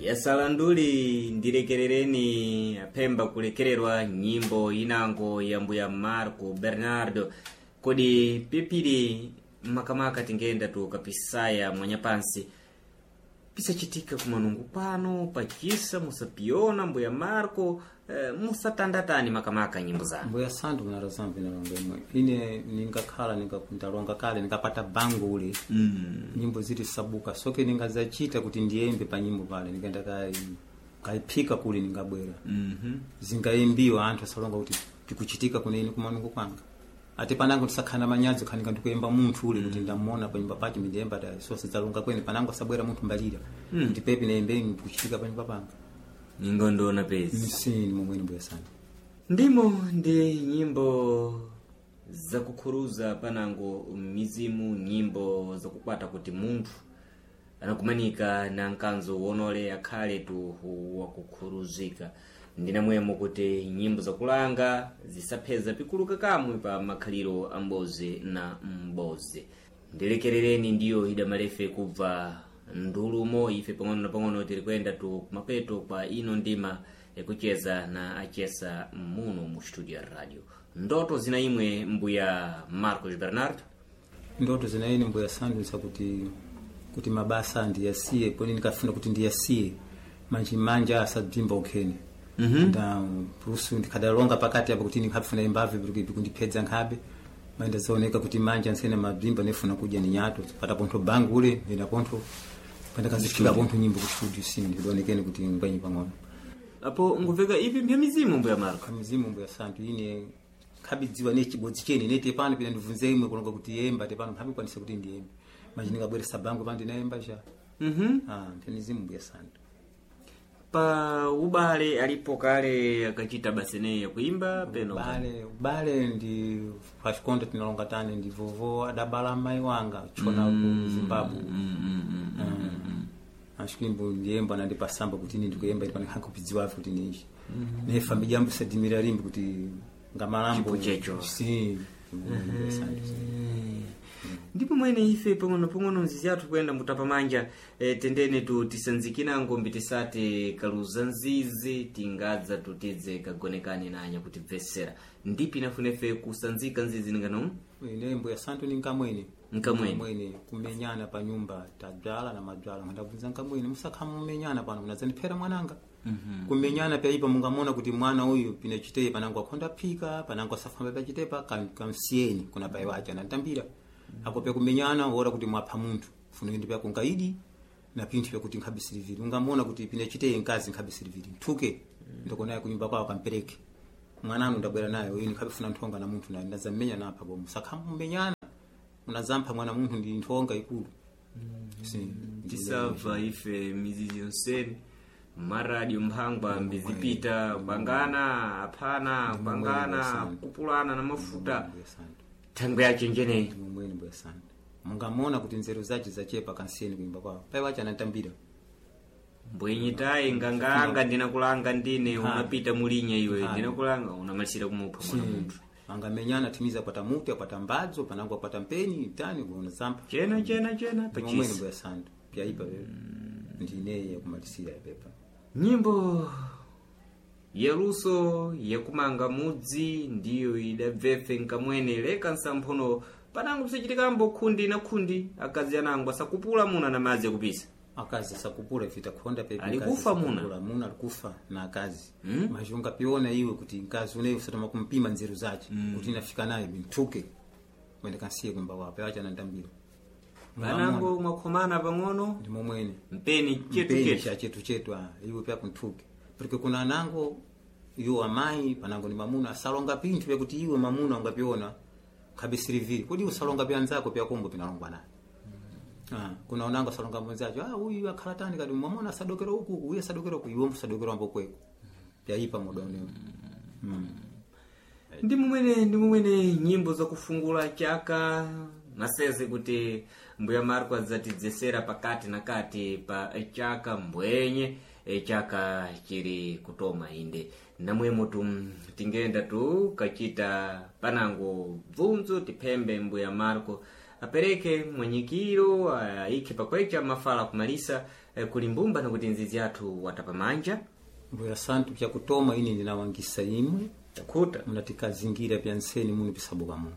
Yasalanduli ndilekerereni aphemba kulekererwa nyimbo inango ya mbuya Marco Bernardo. Kodi pipili makamaka tingenda tu kapisaya mwanyapansi pisachitika kumanungu pano pachisa musapiona mbuya Marco, musatandatani makamaka nyimbo zanu. Mbuya sandu munalazambi nalonga imwe ine ningakhala ndalonga kale ningapata bango ule nyimbo ziti sabuka soke ningazacita kuti ndiyembe pa nyimbo pale ningaenda kaiphika kule ningabwera zingayimbiwa anthu asalonga kuti tikuchitika kuneni kumanungu kwanga ate panango tisakhala manyazi khanika ndikuyemba munthu ule kuti ndamona pa nyumba pache mindiyemba ta so sidzalonga kwene panango asabwera munthu mbalira kuti pepi nayembeni kuchitika pa nyumba panga. Ningondoona pezi msini momwene mbuya sandu. Ndimo ndi nyimbo zakukhuruza panango mizimu, nyimbo zakukwata kuti munthu anakumanika na mkanzo wonole akhale tu wakukhuruzika. Ndinamwemo kuti nyimbo zakulanga zisapheza pikuluka kamwe pa makhaliro ambozi na mbozi. Ndilekerereni ndiyo idamalefe kubva ndulumo ife pang'ono na pang'ono tiri kuyenda tu kumapeto kwa ino ndima yakucheza na achesa muno mu studio ya radio. Ndoto zina imwe mbuya Marcos Bernardo. Ndoto zinaini mbuya sandu kuti mabasa ndiyasiye poni nikafuna kuti ndiyasiye manji manja asadzimba ukhene nda purusu ndikhadalonga pakati apo kuti ndikhafuna imbavi pikundipedza nkhabe maenda zaoneka kuti manja nsene mabzimba nefuna kudya ni nyato pata pontho bangu ule ndenda pontho pandakazifika pontho nyimbo ku studio sini ndionekene kuti ngwenyi pang'ono. Apo nguveka ipi mpya mizimu mbuya Marco? Kamizimu mbuya sandu ine khabidziwa ne chibodzi chene nete pano pina ndibvunze imwe kulonga kuti yemba te pano nkhabikwanisa kuti ndiyembe manje ndingabweresa bangu pano ndinayemba cha. Mpya mizimu mbuya sandu. Pa ubale alipo kale akachita baseneyi yakuimba peno ubale ndi pachikonde tinalonga tani ndi vovo adabala mayi wanga chona ku Zimbabwe. Ashikimbo ndiyemba nandipasamba kuti ine ndikuyemba ili panekhankupidziwavi kuti ninji ne family yambo sadimira limbi kuti ngamalambo Chipo checho. Si. Ndipo mwene ife pang'ono pang'ono mzizi athu kuyenda mutapamanja, tendene tu tisanzikinango mbi tisati kaluza nzizi tingadza tutidze kagonekane nanya kuti bvesera ndipi inafunefe kusanzika nzizi ningano. Ine mbuya santu ni nkamwene. Nkamwene. Nkamwene kumenyana pa nyumba tadzala na madzala ndabvunza nkamwene musakhamumenyana pano munadzandiphera mwananga. Kumenyana paipa mungamona kuti mwana uyu pinachiteye panango akhonda phika panango asafamba pachitepa kamsiyeni kuna pai wache anatambira akope kumenyana wora kuti mwapha munthu funo ndi pako nkaidi na pinthu pakuti nkhabisiriviri ungamona kuti pinachiteye nkazi nkhabisiriviri nthuke ndokonaye kunyumba kwawo kampereke mwananu ndabwera naye uyu nkhabifuna nthonga na munthu na ndazamenya napha bo musakhamumenyana munazampha mwana munthu ndi nthonga ikulu. Tisabva ife mizizi yonseni maradio mphangwa mbizipita kupangana aphana kupangana kupulana na mafuta thangwe yache njeneyi. Mumweni mbuya sandu mungamona kuti nzeru zace zachepa kansiyeni kuimba kwawo pai wache anatambira. Mbwenyitayi nganganga ndinakulanga ndine unapita mulinya iwe ndinakulanga unamalisira kumupha mwana munthu. Angamenyana timiza apata muti apata mbadzo panango apata mpeni tani kuona zampa chena chena chena momweni pachisa. Mbuya sandu pyaipa pepe ndineye yakumalisira pepa. Nyimbo yeluso yekumanga mudzi ndiyo idabvefe nkamwene leka nsamphono panango pisachitikambo khundi na khundi akazi anango asakupula muna na madzi akupisa. Akazi asakupula ife takhonda pepe Alikufa akazi muna? asakupula, muna alikufa na akazi mm. Ungapiona iwe kuti mkazi uneyo usatama kumpima nzeru zace kuti inafika naye binthuke mwende kansiye kumba kwawo pache anandambira. Panango mwakhomana pang'ono ndi momwene mpeni chetu mpeni chetu cha chetu chetu iwe pya kunthuke porque kuna anango iwo amayi panango ni mamuna asalonga pinthu pyakuti iwe mamuna ungapiona khabisiriviri kodi usalonga pya anzako pyakombo pinalongwa naye. Kuna unango asalonga mwenzacho uyu akhala tani kati mwamuna asadokera uku uyu asadokera uku iwe msadokera ambokweko pyaipa muda unewo. Ndi mumwene nyimbo zakufungula chaka maseze kuti mbuya Marco adzatidzesera pakati na kati pa chaka mbwenye chaka chiri kutoma inde namwemo tu tingenda tu kachita panango bvunzo tiphembe mbuya Marco. Apereke mwenyikiro aike pakwecha mafala kumalisa kulimbumba nakuti nzizi yathu watapamanja. Mbuya santu, pyakutoma ine ndinawangisa imwe Takhuta. Munatikazingira pya nseni muno pisabuka muno.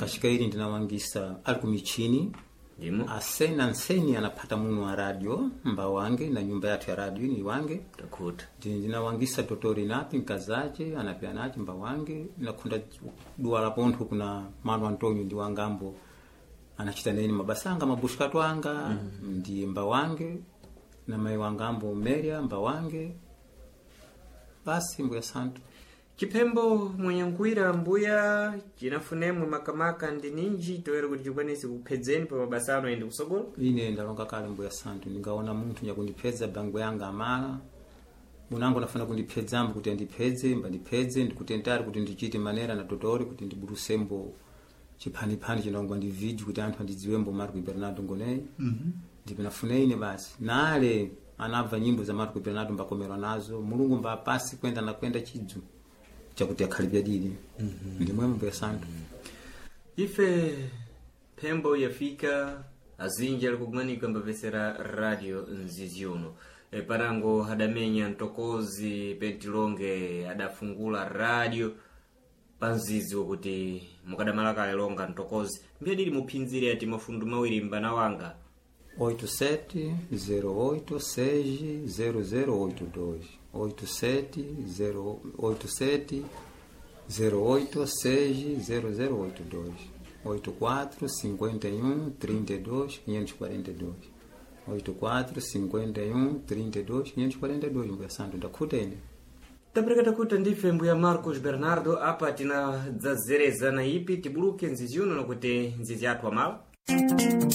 Kashika ili ndinawangisa ali kumichini Ndimo. Asena nseni anaphata muno wa radio mba wange na nyumba yathu ya radio ni wange. Takhuta. Ndinawangisa totori napi mkazace anapya nace mba wange nakhunda duwala pontho kuna mano Antonio ndi wangambo anachita neni mabasa anga mabushikatu anga. Ndiye mba wange na mai wangambo Meria mba wange basi, mbuya santu. Chiphembo mwenyankwira mbuya chinafunemwe makamaka ndi ninji toera kuti chikwanise kuphedzeni pa mabasa ano ayende kusogola? Ine ndalonga kale, mbuya santu, ndingaona munthu nyakundipedza bango yanga amala munango nafuna kundiphedzambo kuti andiphedze mbandiphedze ndikutentari kuti ndichite manera na totori kuti ndiburusembo chiphaniphani chinongwa ndi video kuti anthu andidziwembo Marco Bernardo Ngonei. Ndipinafune ine basi nale anabva nyimbo za Marco Bernardo mbakomerwa nazo mulungu mbapasi kwenda na kwenda chidzu chakuti akhali byadidi. Ndimwemo, mbuya santu. Ife phembo yafika, azinji ali kugumanika mbapesera radio nzizi uno. Parango adamenya mtokozi pentilonge adafungula radio panzizi wakuti mukadamala kale longa mtokozi mbiyadili muphinzire ati mafundu mawiri mbana wanga. 87 08 6 0082 87 0 87 08 6 0082 84 51 32 542 84 51 32 542. Mbuya santu, ndakhuta ine. Tapereka takuta ndife mbuya Marcos Bernardo apa tinadzazerezana ipi tibuluke nzizi uno nokuti nzizi athu amala.